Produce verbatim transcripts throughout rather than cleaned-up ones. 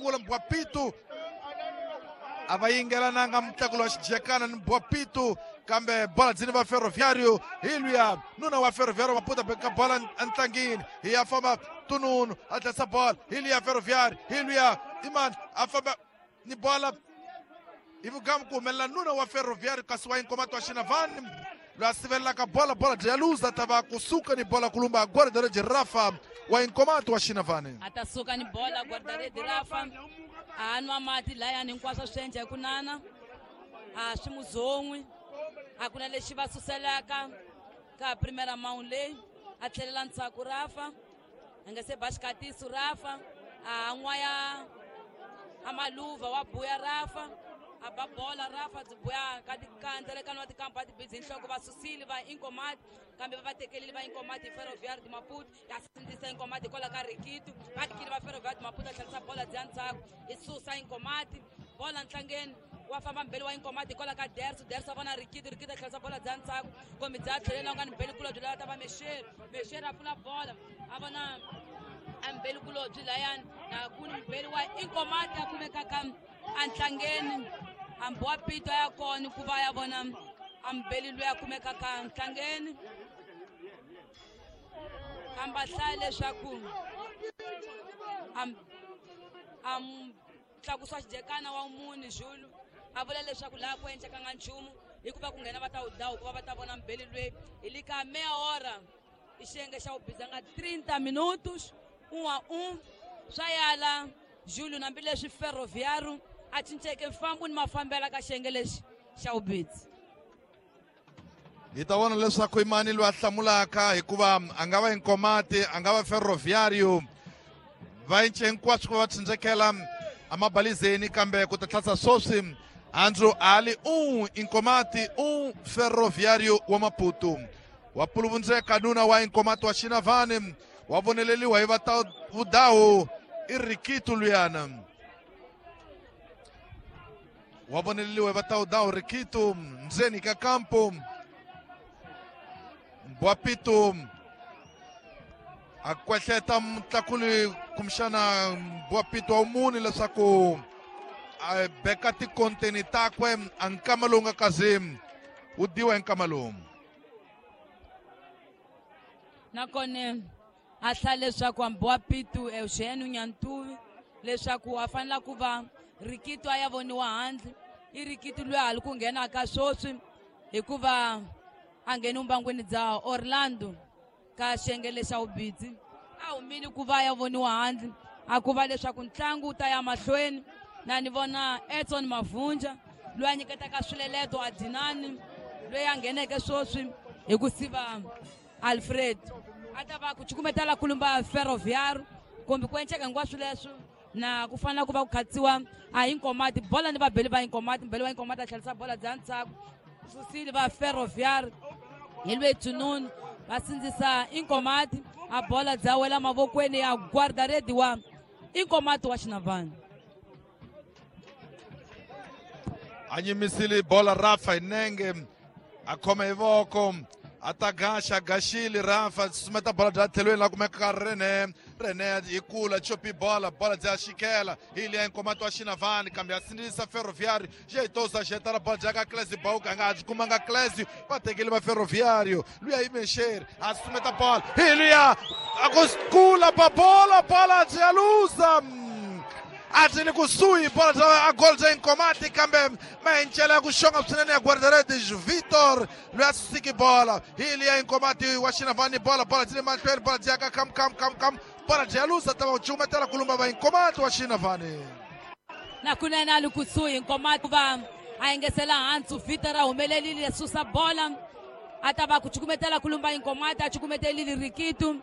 sungula Mbwapitu a va yingelananga mutlakulo wa xijekana ni Mbwapitu kambe bola dzini va Ferroviário hi luya nuna wa Ferroviário Maputo beka bola entlangini hi ya famba Tununu a tlhesa bola hi luya Ferroviário hi luya Iman a famba ni bola hi vugamu ku humelela nuna wa Ferroviário kasi wa Inkomati wa Xinavani loyi a sivelelaka bola bola bya luza ta va kusuka ni bola kulumba guarda-rede Rafa wa Inkomati wa Xinavani a ta suka ni bola guarda-rede Rafa a nwa mati layani hinkwaswo swi endla hi ku nana a swi muzon'wi a ku na lexi va suselaka ka primera mount leyi a tlhelela ndzhaku Rafa a nga se ba xikatiso Rafa a n'waya a maluva wa buya Rafa a ba bola Rafa byi buya ka tikandzalekano wa tikampa a tibidzi nhloko va susile va Inkomati kambe va va tekelile va Inkomati hi Ferroviário de Maputo ya sindzisa Inkomati hikwalaho ka Rikitu va tekile va Ferroviário de Maputo a tlherisa bola byi ya ndzhaku i susa Inkomati bola ntlangeni wa famba mbeli wa Inkomati hikwalaho ka Derso Derso a vona Rikitu Rikitu a tlherisa bola bya ndzhaku kumbe bya tlhelela nga ni mbeli kulobye loyi a ta va Mexeri Mexeri a pfula bola a vona a mbeli kulobye layani na ku ni mbeli wa Inkomati a kumekaka antlangeni hambi wa Pito ya kona ku va ya vona ambeli loyi a kumekaka ntlangeni kambe a hlaya leswaku a tlakusiwa xijekana wa muni Zulu a vula leswaku laha ku endlekanga nchumu hikuva ku nghena va ta wudawu ku va va ta vona mbeli loyi hi le ka meia hora i xiyenge xa wubizanga trinta minutos um a um swa yala Júlio hambileswi Ferroviário a cinceke mfambo ni mafambela ka xiyenge lexi xa wubidzi hi ta vona leswaku i mani loyi a hlamulaka hikuva a nga va Inkomati a nga va Ferroviário va cince hinkwaswo ku va va tsindzekela amabalizeni kambe ku ta tlhasa sweswi Andrew Ali um Inkomati um Ferroviário wa Maputo wa puluvundzeka nuna wa Inkomati wa Xinavani wa voneleliwa hi va ta vudawu i Rikitu luyana wa voneleliwa hi va ta vudawu Rikitu ndzeni ka kampo Mbwapitu a kwehleta mutlakuli kumbexana Mbwapitu wa muni leswaku a beka tikonteni takwe a nkama lowu nga kazi wu diwa hi nkama lowu nakona a hlaya leswaku Mbwapitu Eugênio Nyantuvi leswaku a fanela ku va Rikitu a ya voniwa handle i Rikitu loyi a li ku nghenaka sweswi hikuva a ngheni vumbangwini bya Orlando ka xiyenge lexa wubidzi a humile ku va ya voniwa handle a ku va leswaku ntlangu wu ta ya mahlweni na ni vona Edson Mavunja loyi a nyiketaka swileleto a Dinani loyi a ngheneke sweswi hi ku siva Alfred a ta va ku cukumetela kulumba Ferroviário kumbe ku enceka hinkwaswo leswo na ku fanela ku va ku khatsiwa a Inkomati bola ni vabeli va Inkomati mbeli wa Inkomati a tlherisa bola bya ndzhaku susile va Ferroviário hi lweyi Tununu va sindzisa Inkomati a bola bya wela mavokweni ya guarda-rede wa Inkomati wa Xinavani a nyimisile bola Rafa hi nenge a khoma hi voko a ta gaxa gaxile Rafa susumeta bola bya tlhelweni laha kumekaka Rene Rene hi kula chopi bola bola bya xikela hi liya Inkomati wa Xinavani kambe a sindzisa Ferroviário xeitosa xetala bola bya ka Clésio Bauka a nga ha byi kumanga Clésio va tekile va Ferroviário luya i Mexeri a susumeta bola hi luya a ku kula pa bola bola bya luza a byi le kusuhi bola bya a gol bya Inkomati kambe mahencela ya ku xonga swinene ya guarda-redes Vitor loyi a susiki bola hi liya Inkomati wa Xinavani bola bola byi le mahlweni bola byi ya ka kam kam kam kam bola byi ya luza ta va ku cukumetela kulumba va Inkomati wa Xinavani na kunene a li kusuhi Inkomati va a yingisela hansi Vitor a humelelile susa bola a ta va ku cukumetela kulumba Inkomati a cukumetelile Rikitu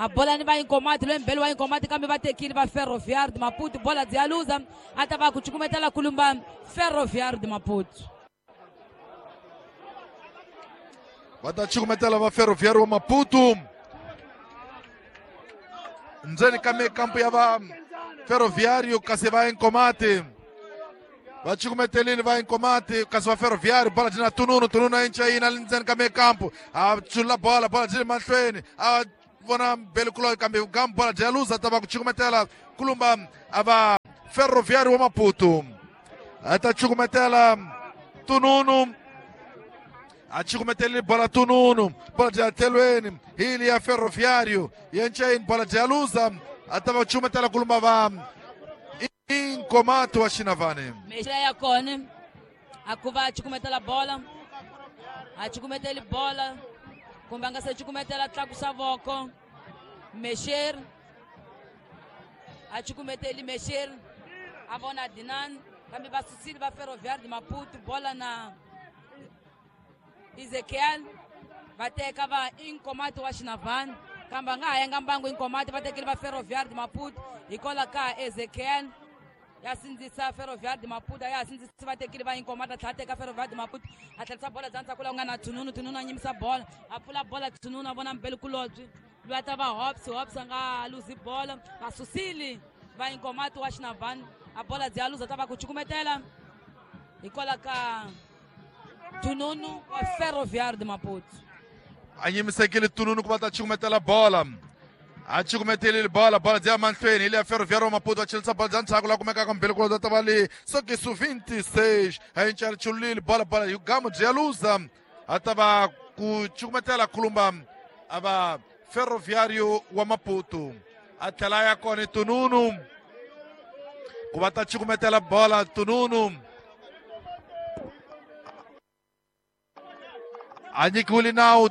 a bola ni va Inkomati loyi mbeli wa Inkomati kambe va tekile va Ferroviário de Maputo bola byi ya luza a ta va ku cukumetela kulumba Ferroviário de Maputo va ta cukumetela va Ferroviário wa Maputo ndzeni ka mikampu ya va Ferroviário kasi va Inkomati va cukumetelile va Inkomati kasi va Ferroviário bola byi na Tununu Tununu a yinca yina ndzeni ka mikampu a chula bola bola byi le mahlweni a vona mbeli kulo kambe gambu bola bya luza ta va ku cukumetela kulumba a va Ferroviário wa Maputo. A ta cukumetela Tununu. A cukumetela bola Tununu. Bola de atelweni. Hili ya Ferroviário. Yenchain bola de aluza. A tava cukumetela kulumba va Inkomato wa Xinavane. Mexela ya kona. Akuva cukumetela bola. A cukumetela bola. Kumbe a nga se cukumetela tlakusa voko. Mexer. A cukumeteli mexer. A vona Dinan. Kambe va susile va Ferroviário de Maputo. Bola na Ezequiel. Va teka va Inkomato wa Xinavane. Kambe a nga ha yanga mbangu Inkomato va tekile va Ferroviário de Maputo. Hikwalaho ka Ezequiel. Ya sindzisa Ferroviário de Maputo. Ya sindzisa va tekile va Inkomato. A tlhela teka Ferroviário de Maputo. A tlherisa bola bya ndzhaku laha ku nga na Tununu. Tununu a nyimisa bola. A pfula bola Tununu a vona Mbelikulobye. Loyi a ta va Hobbs. Hobbs a nga luzi bola. Va susile va Inkomato wa Xinavane. A bola bya luza ta va ku cukumetela. Hikwalaho ka Tununu wa Ferroviário de Maputo. A nyimisekile Tununu ku va ta cukumetela bola. A cukumetelile bola. Bola bya mahlweni. Hili ya Ferroviário wa Maputo. A chilisa bola bya ndzhaku laha kumekaka Mbelikulobye ta va le sokisu vinte e seis. A yi chulile bola. Bola hi gamu bya luza. A ta va ku cukumetela kulumba a va Ferroviário wa Maputo. A tlhela ya kona Tununu. Ku va ta cukumetela bola Tununu. A nyikiwile nawu.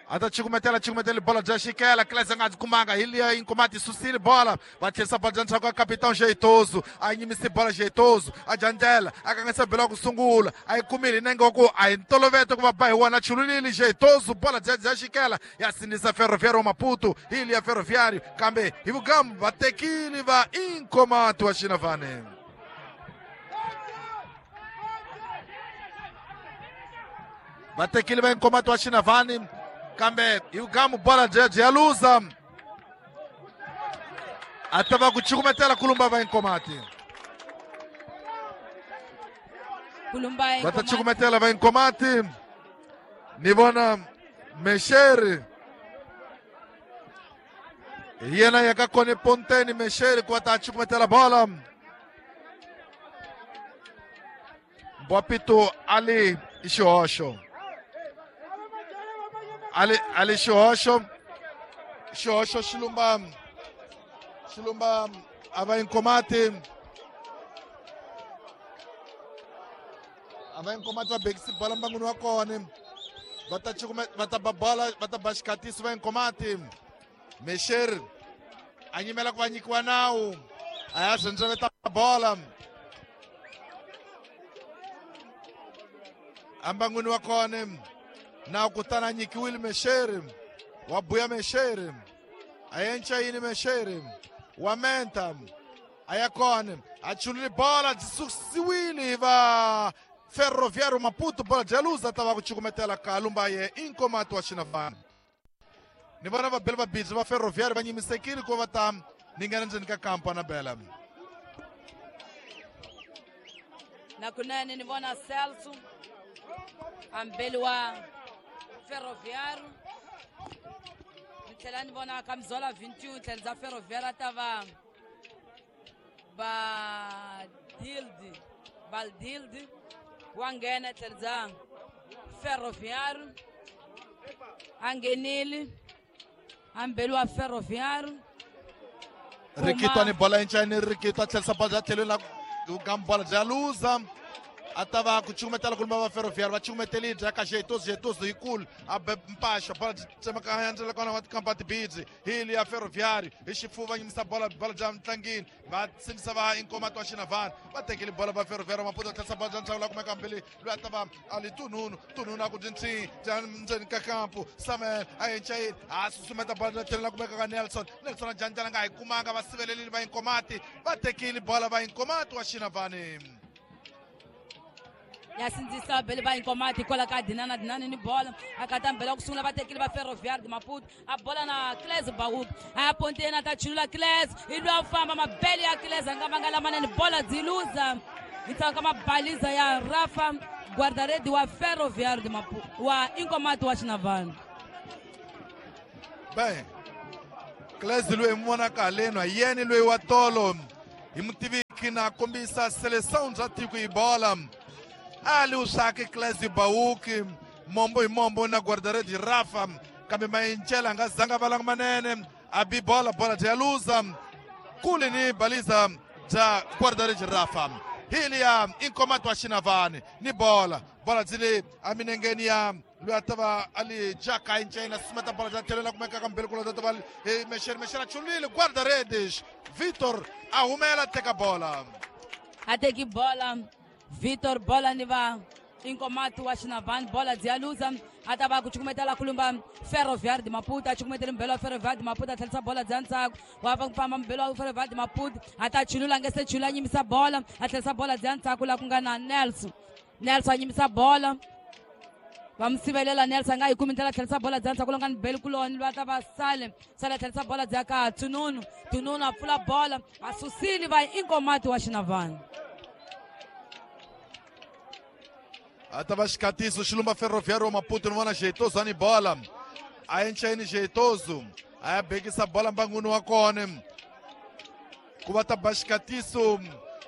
A ta cukumetela cukumetela bola bya xikela. Klese nga kumanga. Hili ya Inkomato susile bola. Va tlherisa bola bya ndzhaku ka Capitão Jeitoso. A yimise bola Jeitoso. A jandela. A kangisa bola ku sungula. A yi kumile nenge wa ku a hi ntoloveta ku va ba hi wona. Chululile Jeitoso. Bola bya bya xikela. Ya sindzisa Ferroviário wa Maputo. Hili ya Ferroviário. Kambe hi vugamu va tekile va Inkomato wa Xinavane. Va tekile va Inkomato wa Xinavane. Kambe hi vugamu bola bya luza. A ta va ku cukumetela kulumba va Inkomati. Kulumba Va ta cukumetela va Inkomati. Ni vona Mexeri. Hi yena ya ka kona Ponteni Mexeri ku va ta cukumetela bola. Mbwapito ali i xihoxo. Ali ali xihoxo. Xihoxo xilumba xilumba a va Inkomati. A va Inkomati va bekisi bola mbangwini wa kona. Va ta cukume va ta ba bola va ta ba xikatiso va Inkomati. Mexer a nyimela ku va nyikiwa nawu. A ya swi bola. Ambangwini wa kona. Na kutana nyikiwile Mexeri. Wa buya Mexeri. A yencha yini Mexeri. Wa menta. A ya kona. A chulile bola susiwile va Ferroviário Maputo. Bola de luza ta va ku cukumetela ka lumba ye Inkomato wa Xinavane. Ni vona va bele va bidzi va Ferroviário va nyimisekile ku va ta ni nghena ndzeni ka kampa na bela. Na kunene ni vona Celso ambeli wa Ferroviário. Ni tlhela ni vona Kamzola vinte e um tlhela bya Ferroviário a ta va Badildi. Baldildi wa nghena tlhela bya Ferroviário. A nghenile ambeli wa Ferroviário. Rikitwa ni bola yinchani Rikitwa tlherisa bola bya tlhelweni la gamu bola bya luza. A ta va ku cukumetela kulumba va Ferroviário. Va cukumetelile bya ka Jeitoso. Jeitoso yikulu. A be mpaxa. Bola tsemaka ndzela kona wa tikampa tibidzi. Hili ya Ferroviário. Hi xifuva nyimisa bola bola bya ntlangini. Va sindzisa va Inkomato wa Xinavane. Va tekile bola va Ferroviário Maputo. Tlherisa bola bya ntlhangu la kumeka mbili. Loyi a ta va ali Tununu. Tununu a ku dyintsi. Bya ndzeni ka kampu. Samuel a yenchayini. A susumeta bola bya tlhelo la kumeka ka Nelson. Nelson a janjana nga hi kumanga. Va sivelelile va Inkomati. Va tekile bola va Inkomato wa Xinavane. Ya sindzisa bele va Inkomati hikwalaho ka Dinana. Dinana ni bola. A kata mbela ku sungula va tekile va Ferroviário de Maputo. A bola na Cles Baúk. A ya ponteni a ta chulula Cles. Hi loyi a famba mabele ya Cles a nga vanga lamanene. Bola byi luza. Hi tsaka mabaliza ya Rafa guarda-rede wa Ferroviário de Maputo wa Inkomato wa Xinavane. Bem, Cles loyi hi n'wi vonaka haleni hi yena loyi wa tolo hi mutivi Bauki na kombisa seleção bya tiko hi bola. Ali usaki Clésio Bauki mombo hi mombo na guarda-redes Rafa kambe Mayincela a nga zanga valanga manene a bi bola bola bya luza kule ni baliza bya guarda-redes Rafa. Hili ya Inkomati wa Xinavane ni bola bola byi aminengeni ya loyi a ta va a li jaka incena sumeta bola bya tlhelo la kumeka ka mbele kula ta va hi Mexer Mexer a chulile guarda-redes Vitor a humela teka bola a teki bola Vitor bola ni va Inkomati wa Xinavane bola bya luza a ta va ku cukumetela kulumba Ferroviário de Maputo a cukumetela mbelo wa Ferroviário de Maputo a tlherisa bola bya ntsako wa va ku famba mbelo wa Ferroviário de Maputo a ta chulula nge se chula a nyimisa bola a tlherisa bola bya ntsako la ku nga na Nelson Nelson a nyimisa bola va mi sivelela Nelson a nga yi kumi ndlela tlherisa bola bya ntsako la nga ni beli kuloni va ta va sale sale a tlherisa bola bya ka Tununu Tununu a pfula bola a susile va Inkomati wa Xinavane. A ta va xikatiso xilumba Ferroviário Maputo ni vona Jeitoso ani bola a encheni Jeitoso a ya bekisa bola mbanguni wa kona ku va ta ba xikatiso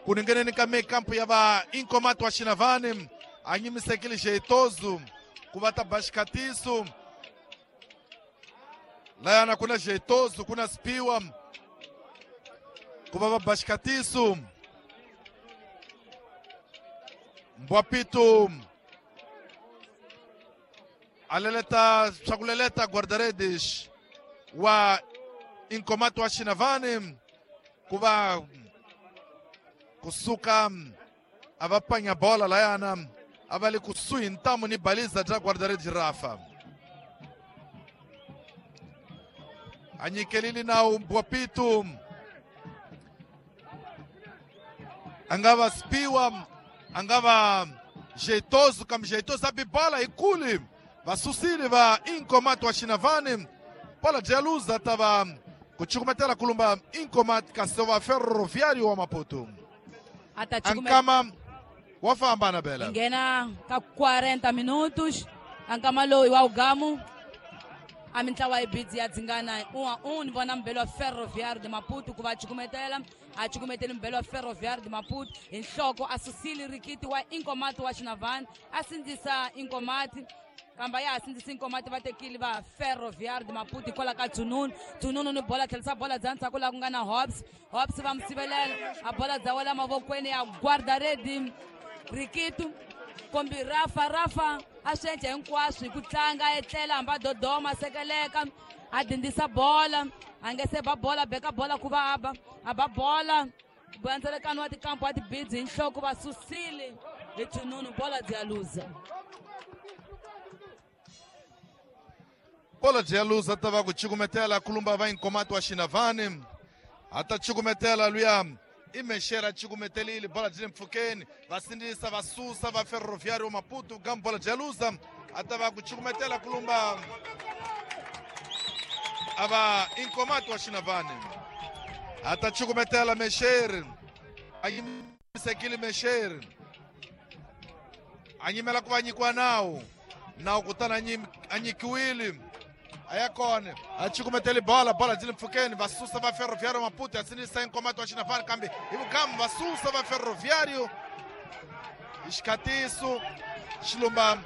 ku ningeneni ka mekampo ya va Inkomati wa Xinavane a nyimisekile Jeitoso ku va ta ba xikatiso layana ku na Jeitoso ku na Spiwa ku va va ba xikatiso. Mbwapito aleleta swakuleleta guarda-redes wa Inkomati wa Xinavane ku va kusuka a va panya bola layana a va le kusuhi ntamu ni baliza bya guarda-redes Rafa a nyikelile nawu Mbwapito a nga va Spiwa a nga va Jeitoso kambe Jeitoso a bi bola hi kule va susile va Inkomati wa Xinavane bola bya luza ta va ku cukumetela kulumba Inkomati kasi va Ferroviário wa Maputo a ta ankama wa famba na bela nghena ka quarenta minutos ankama loyi wa ugamu a mintlawa yi bidzi ya dzingana un a un ni vona mbelo wa Ferroviário de Maputo ku va cukumetela a cukumeteli mbelo wa Ferroviário de Maputo hi nhloko a susile rikiti wa Inkomati wa Xinavane a sindzisa Inkomati kambe ya ha sindzisa Inkomati va tekile va Ferroviário de Maputo hikwalaho ka Tununu Tununu ni bola tlherisa bola bya ndzhaku laha ku nga na Hobbs Hobbs va mi sivelela a bola bya wela mavokweni ya guarda-redes Rikitu kombi Rafa Rafa a swi endla hinkwaswo hi ku tlanga a etlela hambi a dodoma a sekeleka a dindisa bola a nge se ba bola beka bola ku va a ba a ba bola bandzelekano wa tikampo wa tibidzi hi nhloko va susile hi Tununu bola bya luza bola bya luza ta va ku cukumetela kulumba va Inkomati wa Xinavane a ta cukumetela luya i Mexer a cukumetelile bola byi le mpfhukeni va sindzisa va susa va Ferroviário Maputo kambe bola bya luza a ta va ku cukumetela kulumba a va Inkomati wa Xinavane a ta cukumetela Mexer a yimisekile Mexer a nyimela ku va nyikiwa nawu nawu kutani a nyikiwile a ya kona a cukumeteli bola bola byi le mpfhukeni va susa va Ferroviário Maputo ya sindzisa Inkomati wa Xinavane kambe hi vugamu va susa va Ferroviário hi xikatiso xilumba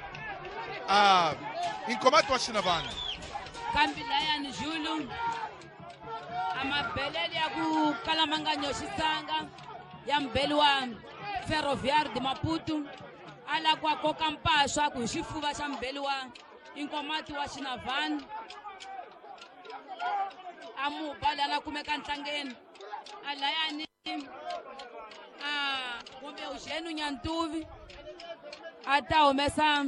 a Inkomati wa Xinavane kambe layani Julu a mabelele ya ku kala ma nga nyoxisanga ya mbeli wa Ferroviário de Maputo a la ku a koka mpahla ku hi xifuva xa mbeli wa Inkomati wa Xinavane a mu ba lana kumeka ntlangeni a layani a kumbe Eugênio Nyantuvi a ta humesa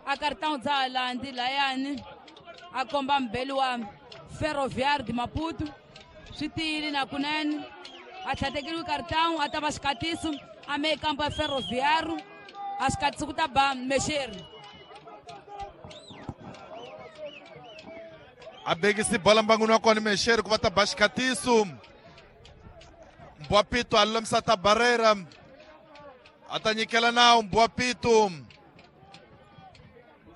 a cartão dza halandi layani a komba mbeli wa Ferroviário de Maputo swi tiyile na kunene a tlhatekeriwe cartão a ta va xikatiso a me kampo ya Ferroviário a xikatiso ku ta ba Mexeri a bekisi bola mbanguni wa kona Mexeri ku va ta ba xikatiso Mbwapito a lulamisa ta Barreira a ta nyikela nawu Mbwapito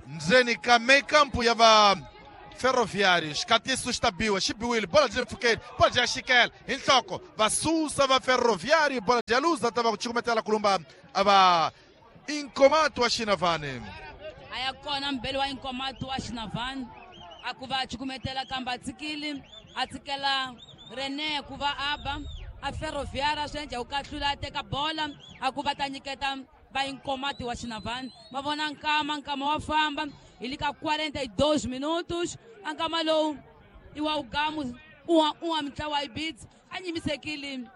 ndzeni ka mekampo ya va Ferroviário xikatiso xi ta biwa xi biwile bola byi le mpfhukeni bola bya xikela hi nhloko va susa va Ferroviário bola bya luza ta va ku cukumetela kulumba a va Inkomato wa Xinavane a ya kona mbele wa Inkomato wa Xinavane a ku va cukumetela kambe a tshikile a tshikela René ku va aba a Ferroviário swi endla ku kahlula a teka bola a ku va ta nyiketa va Inkomato wa Xinavane va vona nkama nkama wa famba hi le ka quarenta e dois minutos a nkama lowu i wa ugamu uwa uwa mitlawa ibits a nyimisekile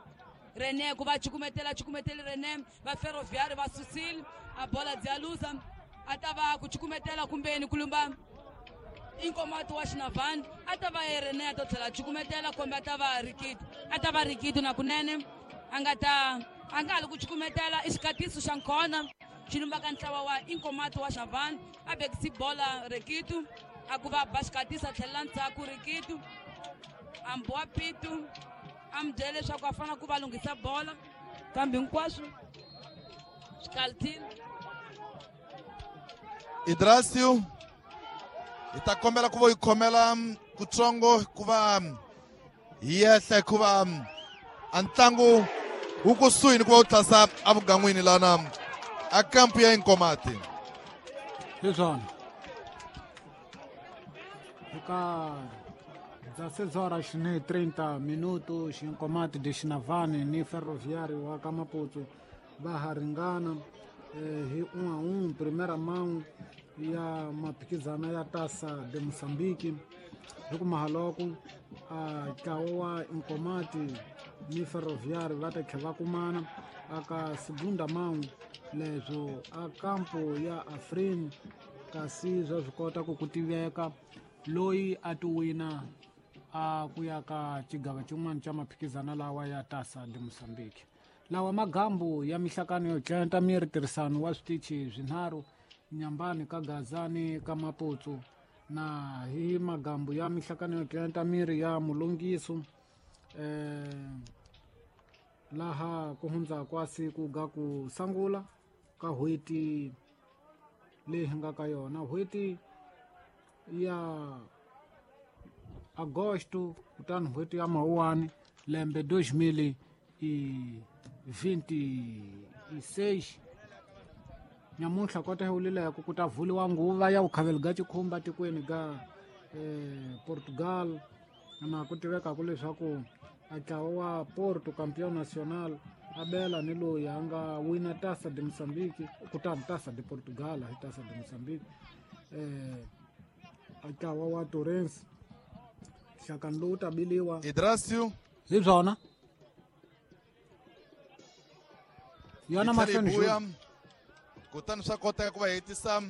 René ku va cukumetela cukumetele René va Ferroviário va susile a bola dya luza a ta va ku cukumetela kumbeni kulumba Inkomato wa Xinavane a ta va René a ta tlhela cukumetela kumbe a ta va Rikito a ta va Rikito na kunene a nga ta a nga ha li ku cukumetela i xikatiso xa nkhona xi lumbaka ntlawa wa Inkomato wa Xinavane a bekisi bola Rikito a ku va ba xikatiso a tlhelela ndzhaku Rikito a mbowa pitu a mi byela leswaku a fanele ku va lunghisa bola kambe hinkwaswo swi kalitile. Idrasio hi ta kombela ku va yi khomela kutsongo ku va hi yehla hikuva a ntlangu wu kusuhi ni ku va wu tlhasa evugan'wini lana a kampu ya Inkomati. Hi swona eka dezesseis horas ni trinta minutos Inkomati de Xinavane ni Ferroviário wa ka Maputo va ha ringana eh, hi um a um primeira mão ya maphikizano ya Taça de Moçambique hi ku mahaloko a ntlawa wa Inkomati ni Ferroviário va ta tlhela va kumana aka segunda mão leswo a kampo ya Afrin kasi swa swi kota ku ku tiveka loyi a ti wina a ku ya ka xigava xin'wana xa maphikizano lawa ya Taça de Moçambique. Lawa magambu ya mihlakano yo tlenta miri tirhisano wa switichi swinharhu Nyambani ka Gazani ka Maputo na hi magambu ya mihlakano yo tlenta miri ya Mulungiso eh laha ku hundza kwa siku ga ku sangula ka hweti leyi hi nga ka yona hweti ya agosto kutani hweti ya Mawuwani lembe dois mil e vinte e seis nyamuntlha kota hi wulileko ku ta vuliwa nguva ya vukhaveli ga xikhumba tikweni ga eh, Portugal na ku tivekaku leswaku a ntlawa wa Porto campeão nacional a bela ni loyi a nga wina Taça de Moçambique kutani Taça de Portugal hi Taça de Moçambique eh, a ntlawa wa Torrens nhlakano lowu ta biliwa Idrasio hi byona yona mahlweni buya kutani swa koteka ku va hetisa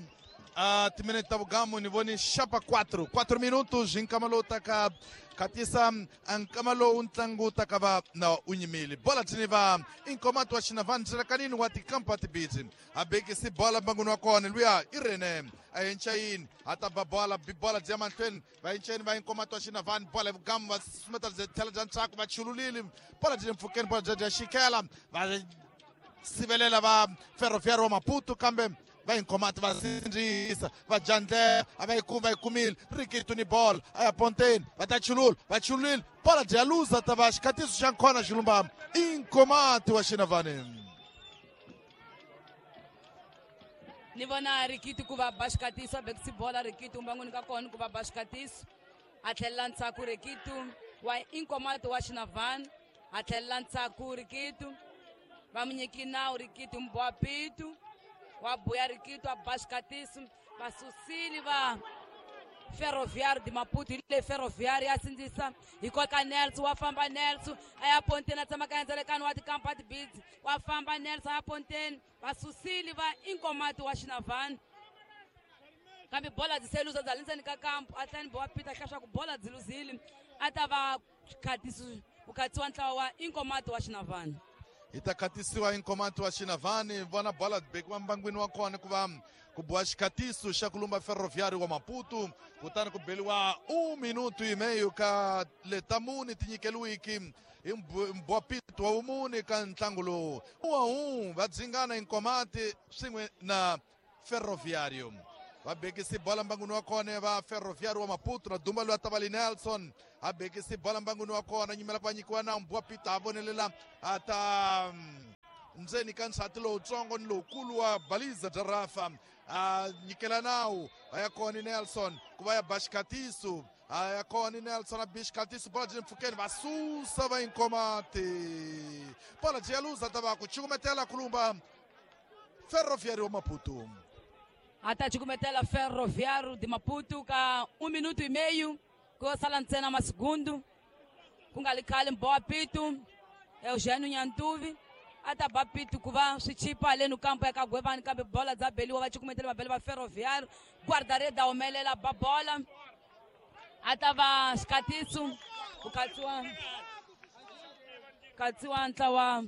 a timinete ta vugamu ni voni xapa quatro quatro minutos hi nkama lowu taka khatisa a nkama lowu ntlangu wu taka va na u nyimile bola thini va Inkomato wa Xinavane tselakanini wa tikampa tibitsi a bekisi bola mbangwini wa kona luya i René a yenchayini a ta ba bola bola bya mahlweni va yenchayini va Inkomato wa Xinavane bola hi vugamu va sumeta bya tlhela bya ntshaku va chululile bola byi le mpfhukeni bola bya bya xikela va sivelela va Ferroviário wa Maputo kambe va Inkomati va sindzisa va jandlela a va yi kumi va yi kumile Rikito ni bola a ya ponteni va ta chulula va chululile bola dya luza ta va xikhatiso xa nkhona xilumba Inkomati wa Xinavane. Ni vona Rikito ku va ba xikatiso a bekisi bola Rikito mbangwini ka kona ku va ba xikatiso a tlhelela ndzhaku Rikito wa Inkomato wa Xinavane a tlhelela ndzhaku Rikito va mu nyiki nawu Rikito mbowa pitu wa buya Rikito a ba xikatiso va susile va Ferroviário de Maputo hi le Ferroviário ya sindzisa hi koka Nelson wa famba Nelson a ya ponteni a tshama ka endzelekano wa tikampa tibitsi wa famba Nelson a ya ponteni va susile va Inkomati wa Xinavane kambe bola byi se luza bya le ndzeni ka kampu a tlhela ni bowa Peter hlaya ku bola byi luzile a ta va khatisi ku khatisiwa ntlawa wa Inkomati wa Xinavane. Hi ta khatisiwa Inkomati wa Xinavane vona bola bekiwa mbangwini wa kona ku va ku boha xikhatiso xa ku lumba Ferroviário wa Maputo kutani ku beliwa um minuto e meio ka letamuni ti nyikeliwiki hi mbwapito wa vumune ka ntlangu lowu um a um va dzingana Inkomati swin'we na Ferroviário. Va bekisi bola mbanguni wa kona va Ferroviário wa Maputo na Dumba loyi a ta va li Nelson a bekisi bola mbanguni wa kona nyimela ku va nyikiwa na Mbwa Peter a vonelela a ta ndzeni ka nsati lowutsongo ni lowukulu wa Baliza bya Rafa a nyikela nawu a ya kona Nelson ku va ya ba xikatiso a ya kona Nelson a bi xikatiso bola byi le mpfhukeni va susa va Inkomati bola byi ya luza ta va ku cukumetela kulumba Ferroviário wa Maputo. A ta cukumetela Ferroviário de Maputo ka um minuto e meio ku sala ntsena masegundu ku nga li khale Mbowa Pitu Eugênio Nyantuvi a ta ba Pitu ku va swi chipa haleni kampo ya ka Gwevani kambe bola dza beliwa va cukumetela mabele va Ferroviário guarda-rede a humelela ba bola a ta va xikatiso ku katsiwa katsiwa ntlawa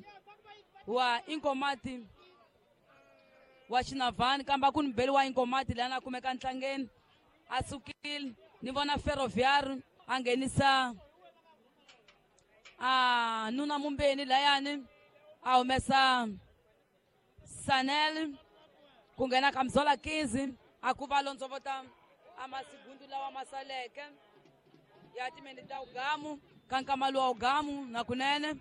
wa Inkomati wa Xinavani kambe a ku ni beli wa Inkomati lana a kumeka ntlangeni a sukile ni vona Ferroviário a nghenisa a nuna Mumbeni layani a humesa Sanel ku nghena ka Mzola Kizi a ku va londzovota a masigundu lawa ma saleke ya timeni ta ugamu ka nkama luwa ugamu na kunene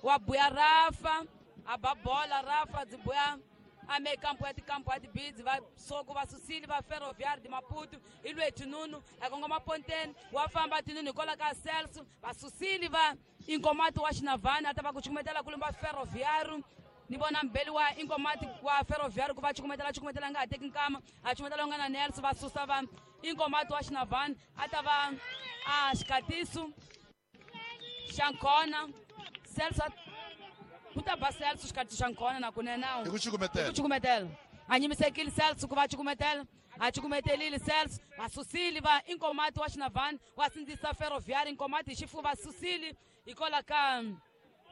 wa buya Rafa a ba bola Rafa dzi buya a me kampo ya tikampo ya tibidzi va soko va susile va Ferroviário de Maputo i lwe tinunu a kongoma ponteni wa famba tinunu hikwalaho ka Celso va susile va Inkomati wa Xinavani a ta va ku cukumetela kulumba Ferroviário ni vona mbeli wa Inkomati wa Ferroviário ku va cukumetela cukumetela nga ha teki nkama a cukumetela nga na Nelson va susa va Inkomati wa Xinavani a ta va a xikatiso xa nkona Celso ku ta ba Celso xikatiso xa nkona na kunene hi ku cukumetela ku cukumetela a nyimisekile Celso ku va cukumetela a cukumetelile Celso va susile va Inkomati wa Xinavani wa sindzisa Ferroviário Inkomati hi xifuva va susile hikwalaho ka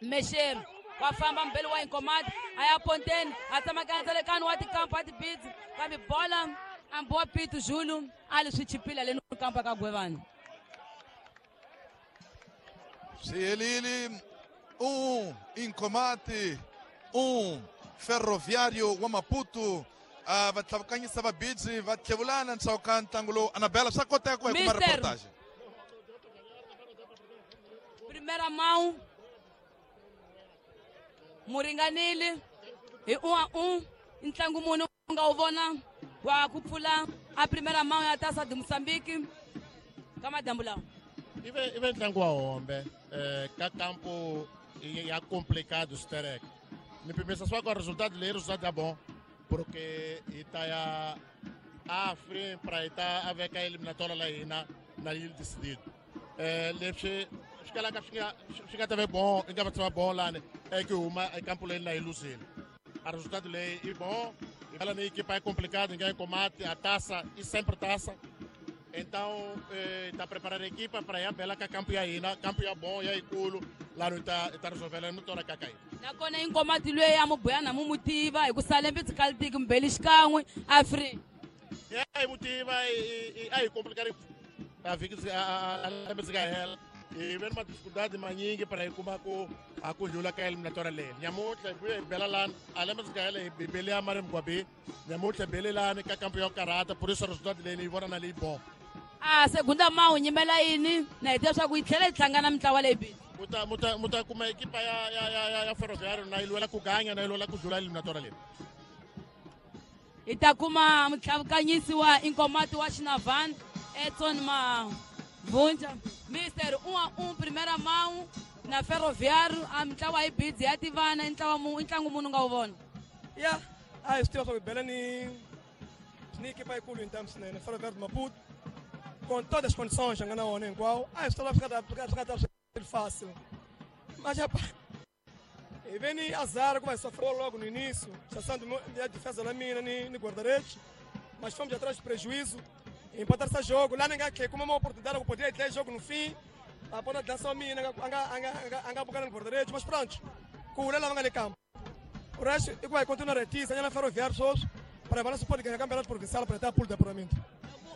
Mexeri wa famba mbeli wa Inkomati a ya ponteni a tsamaka ndzalekano wa tikampo a tibidzi kambe bola a Mbowa Pitu Julu a li swi chipile haleni kampo ka Gwevani. Swi helile um Inkomati um Ferroviário wa Maputo uh, va tlhavukanyisa vabidzi va tlhevulana ndzhaku ka ntlangu lowu. Anabela swa koteka ku hi kuma reportage. Primeira mão muringanile hi um a um ntlangu muni u nga wu vona wa ku pfula a primeira mão ya Taça de Moçambique ka madyambu lawa. Ive ive ntlangu wa hombe eh, ka kampo ya complicado sterek ni pimisa swa ku resultado leyi resultado ya bom porque hi ta ya a free pra hi ta a veka eliminatória la hina na yi decidido eh leswi swi kalaka swi nga swi nga ta ve bom i nga va tshama bom lani e ku huma ekampo leyi na yi luzile a resultado leyi i bom e ela na equipa é complicado ninguém combate a taça e sempre taça. Então está eh, preparando a equipa para ir a bela que campo ya hina campo ya bom ya ikulu lá no está está resolvendo no tora kakai. Nakona Inkomati lweyi a mubuyana mu mutiva hi ku salembe tsikalitiki mbeli xikan'we a free. Ya hi mutiva a hi complicado a vhiki a lembe tsika hela hi ve ni madificuldade manyingi para hi kuma ku a ku ndlula ka eliminatória leyi nyamuntlha hi vuye hi bela lani a lembe tsika hela hi bele ya mari mugwabi nyamuntlha hi bele lani ka kampo ya karata por isso resultado leyi ni yi vona na leyi bom. A segunda mão nyimela yini na hi tiva swa ku yi tlhela yi hlangana mintlawa leyi bili muta muta muta kuma ekipa ya ya ya ya Ferroviário na yi lwela ku ganya na yi lwela ku dlula eliminatória leyi. Hi ta kuma mutlhavukanyisi wa Inkomati wa Xinavani Edson Mavunja Mister um a um primeira mão na Ferroviário a mintlawa yi bidzi ya tivana i ntlawa mu i ntlangu munhu nga wu vona. Ya a hi swi tiva swa ku hi bela ni ni ekipa yikulu hi ntamu swinene Ferroviário de Maputo com todas as condições nga na wona hinkwawo a hi swi tala swi nga ta swi nga ta swi fácil mas rapaz hi ve ni azar ku va hi sofreu logo no início chassando a defesa da mina ni, ni guarda-redes mas fomos atrás de prejuízo empatar esse jogo lá ninguém que como uma oportunidade que poderia ter jogo no fim a ponta de lança mina anga anga bocana no guarda-redes mas pronto com o Lela vanga campo o resto e vai continuar aqui sanha na Ferroviário só para balanço pode ganhar campeonato provincial para ter pulo de apuramento.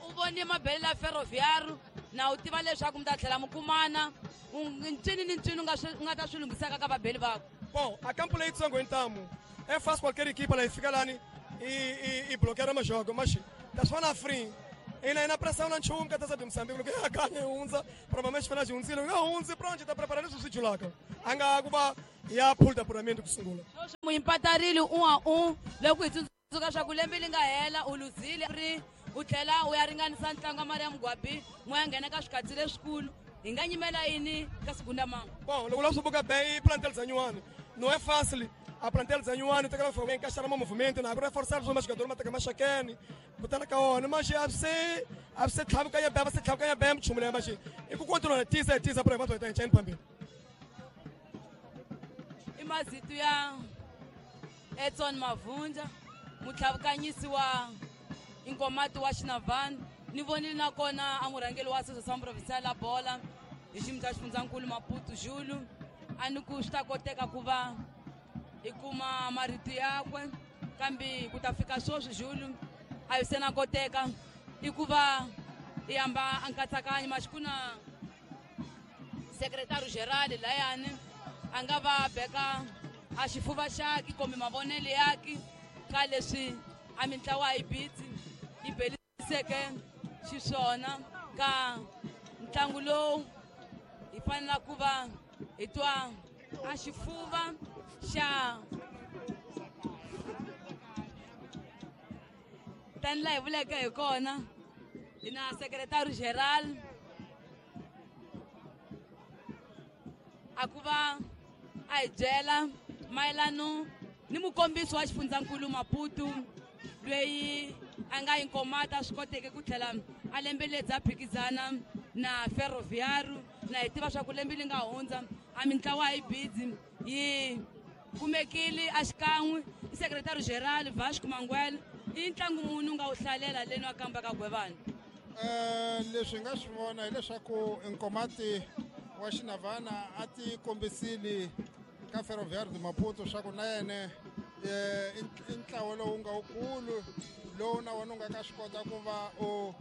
U vone mabele la Ferroviário na u tiva leswaku mi ta tlhela mi kumana ncini ni ncini u nga swi u nga ta swi lunghisaka ka vabeli vako. Bom, a campo leitsongo ntamu é fácil qualquer equipa lá fica lá e, e, e bloquear o jogo, mas Ta swi free. Ina ina pressão na nchumu ka Taça de Moçambique, loko ya kanya hundza, provavelmente fana hundzile, nga hundzi pronto ta preparar leswi swi julaka. Anga ku va ya pool de apuramento ku sungula. Muimpatarile um a um, loko hi tsundzuka swa ku lembe li nga hela u luzile ri u tlhela u ya ringanisa ntlangu wa Maria Mugwabi, mo ya nghena ka swikatsi leswikulu. Hi nga nyimela yini ka segunda mão? Bom, loko la swi buka bem plantel zanyiwani. Não é fácil. A plantel zanyiwani tem que encaixar no movimento, na reforçar os jogadores, mas tem que mais chacane, botar na caona, mas já se a se tlhabuka ya beba se tlhabuka ya bem chumule mas e ku continua tisa tisa para enquanto tem chance pambi. Imazitu ya Edson Mavunja, mutlhabukanyisi wa Inkomati wa Xinavani, ni vonile nakona a murhangeri wa Associação Provincial la Bola hi xiyimo xa xifundzankulu Maputo Julu, a ni ku swi ta koteka ku va hi kuma marito yakwe, kambe ku ta fika sweswi Julu a hi se na koteka i ku va hi hamba a nkatsakanyo maxi ku na secretario geral layani a nga va beka a xifuva xaki kumbe mavonelo yaki ka leswi a mintlawa yi bitsi yi beliseke xiswona ka ntlangu lowu hi fanela ku va hi twa a xifuva xa tani laha hi vuleke hi kona hi na secretario geral a ku va a hi byela mayelano ni mukombisi wa xifundzankulu Maputo loyi a nga Inkomati swi koteke ku tlhela a lembeledza phikizana na Ferroviário na hi tiva swa ku lembe li nga hundza a mintlawa yi bidzi yi kumekile a xikan'we i secretario geral Vasco Manguel i ntlangu muni u nga wu hlalela leni wa kamba ka Gwevani. Eh leswi nga swi vona hileswaku Inkomati wa Xinavana a ti kombisile ka Ferroviário de Maputo swa ku na yena i ntlawa lowu nga wukulu lowu na wona u nga ka swi kota ku va u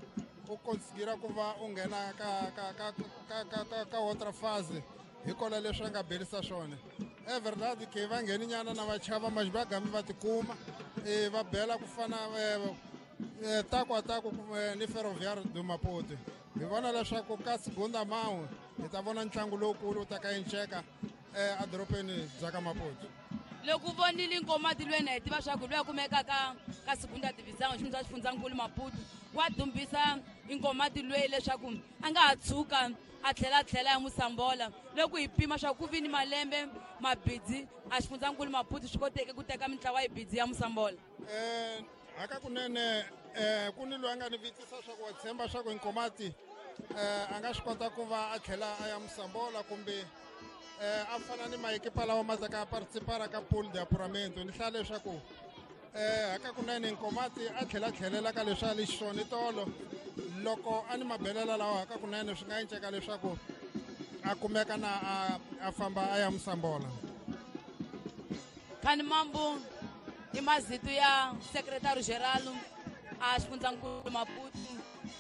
u considera ku va u nghena ka ka ka ka ka ka outra fase hi kona leswi a nga belisa swona. É verdade que va ngheni nyana na va chava mas va gami va tikuma e va bela ku fana taku a taku ni Ferroviário de Maputo. Hi vona leswaku ka segunda mão hi ta vona ntlangu lowukulu wu ta ka enceka edorobeni bya ka Maputo. Loko u vonile Inkomati lwena hi tiva swa ku loyi a kumekaka ka ka segunda divisão xiyimo xa xifundzankulu Maputo wa dumbisa Inkomati lweyi leswaku a nga ha tshuka a tlhela a tlhela ya Musambola. Loko hi pima swa ku vi ni malembe mabidzi a xifundzankulu Maputo swi koteke ku teka mintlawa yi bidzi ya Musambola. Eh hakakunene eh ku ni loyi a nga ni vutisa swa ku wa tshemba swa ku Inkomati eh a nga swi kota ku va a tlhela a ya Musambola kumbe eh a fana ni maekipa lawa ma taka participar ka pool de apuramento. Ni hlaya leswaku eh hakakunene Inkomati a tlhela tlhelela ka leswi a li xiswona tolo loko a ni mabelela lawa hakakunene swi nga enceka leswaku a kumeka na a, a famba a ya Musambola. Khani Mambo i mazitu ya secretario geral a xifundzankulu Maputo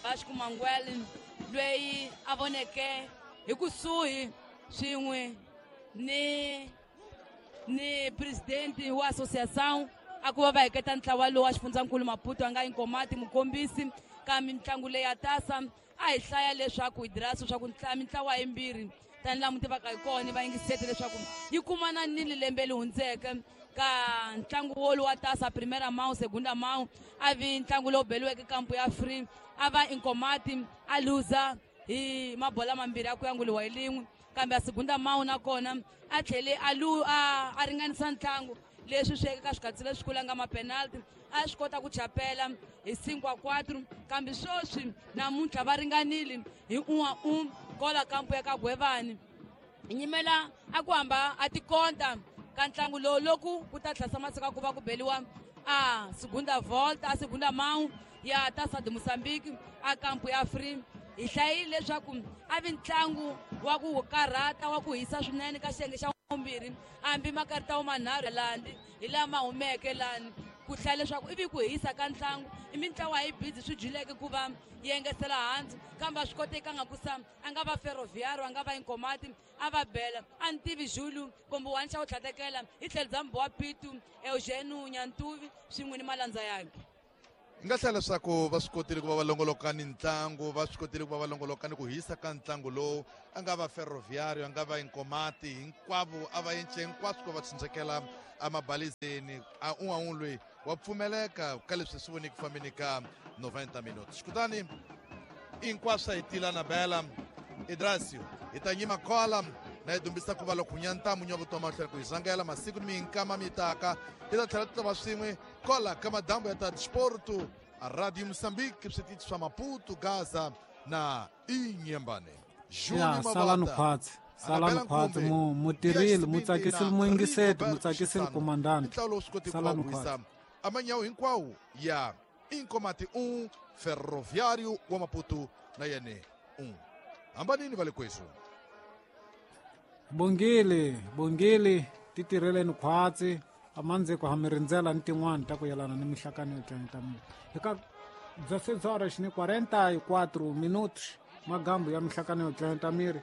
Vasco Manguel loyi a voneke hi kusuhi swin'we ni ni presidente wa associação a ku va va heketa ntlawa lowu wa xifundzankulu Maputo a nga Inkomati mukombisi ka mitlangu leyi ya tasa a hi hlaya leswaku hi dirasa swa ku mintlawa yimbirhi tani laha mu tivaka hi kona va yingisete leswaku yi kumana nini lembe li hundzeke ka ntlangu wolowu wa tasa primeira mão segunda mão a vi ntlangu lowu beliweke kampu ya free a va Inkomati a luza hi mabola mambirhi ya ku yanguliwa hi lin'we kambe a segunda mão nakona a tlhele a lu a a ringanisa ntlangu leswi swi ka swikatsi leswikulu a nga mapenalty a swi kota ku chapela hi cinco a quatro kambe sweswi namuntlha va ringanile hi un a un kola kampu ya ka Gwevani. Hi nyimela a ku hamba a tikonta ka ntlangu lowu loku ku ta tlhasa masiku ku va ku beliwa a segunda volta a segunda mão ya Taça de Moçambique a kampu ya free. Hi hlayile leswaku a vi ntlangu wa ku karhata wa ku hisa swinene ka xiyenge xa vumbirhi hambi makarita manharhu landi hi lama humeke lani ku hlaya leswaku ivi ku hisa ka ntlangu i mintlawa yi bidzi swi dyileke ku va yi engetela hansi kambe a swi kotekanga ku sa a nga va Ferroviário a nga va Inkomati a va bela a ni tivi Julu kumbe wani xa ku tlhatekela hi tlhelo bya Mbowa Pitu Eugênio Nyantuvi swin'we ni malandza yakhe. Nga hlaya leswaku va swi kotile ku va va longoloka ni ntlangu, va swi kotile ku va va longoloka ni ku hisa ka ntlangu lowu. A nga va Ferroviário, a nga va Inkomati, hinkwavo a va yence hinkwaswo ku va tshunxekela emabalizeni. A un'wana un'we loyi wa pfumeleka ka leswi swi voniki fambeni ka noventa minutos. Kutani hinkwaswo hi tila na bela Idrasio hi ta nyima kola na hi dumbisa ku va loko nyantamu nya vutomi mahlweni ku hi zangela masiku ni minkama mi taka hi ta tlhela ti ta va swin'we kola ka madambu ya ta Desporto a Radio Moçambique, switichi swa Maputo, Gaza na Inhambane. Ya salani khwatsi, salani khwatsi, mu mutirhile, mu tsakisile muyingiseti, mu tsakisile komandante. Salani khwatsi. Amanyawu hinkwawo ya Inkomati um, Ferroviário wa Maputo na yene um. Hambanini va le kwesu. Bongile, bongile, titirheleni khwatsi, amandziko ha mi rindzela ni tin'wana ta ku yelana ni mihlakano yo tlangeta mina. Eka dezesseis horas ni quarenta e quatro minutos, magambu ya mihlakano yo tlangeta miri.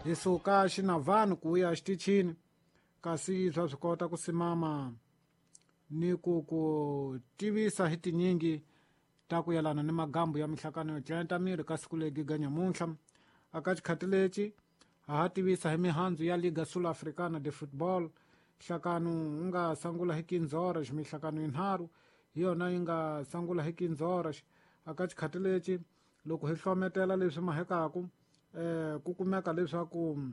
Hi suka Xinavani ku ya xitichini, kasi swa swi kota ku simama ni ku ku tivisa hi tinyingi ta ku yelana ni magambu ya mihlakano yo tlangeta miri ka siku legi ga nyamuntlha. Aka xikhati lexi ha ha tivisa hi mihandzu ya Liga Sul-Africana de Football. Nhlakano wu nga sungula hi quinze horas, mihlakano yinharhu hi yona yi nga sungula hi quinze horas. Aka xikhati lexi loko hi hlometela leswi mahekaku eh ku kumeka leswaku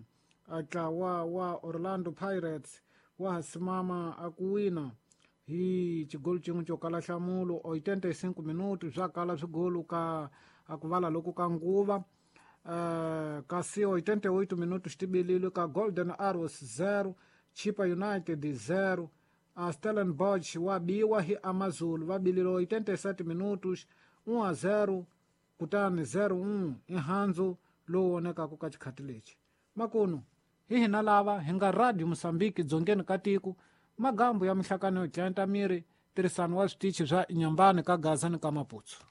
ntlawa wa Orlando Pirates wa ha simama a ku wina hi xigolo xin'we xo kala nhlamulo oitenta e cinco minutos swa kala swigolo ka a ku vala loko ka nguva. Uh, kasi oitenta e oito minutos tibililo ka Golden Arrows zero, Chipa United zero. A Stellenbosch wa biwa hi Amazulu va bililo oitenta e sete minutos um a zero kutani zero um i handzu lowu vonekaka ka xikhati lexi. Makunu hi hina lava hi nga Radio Moçambique dzongeni ka tiko, magambu ya mihlakano yo tlangeta miri, tirhisano wa switichi swa Inhambane ka Gaza ni ka Maputo.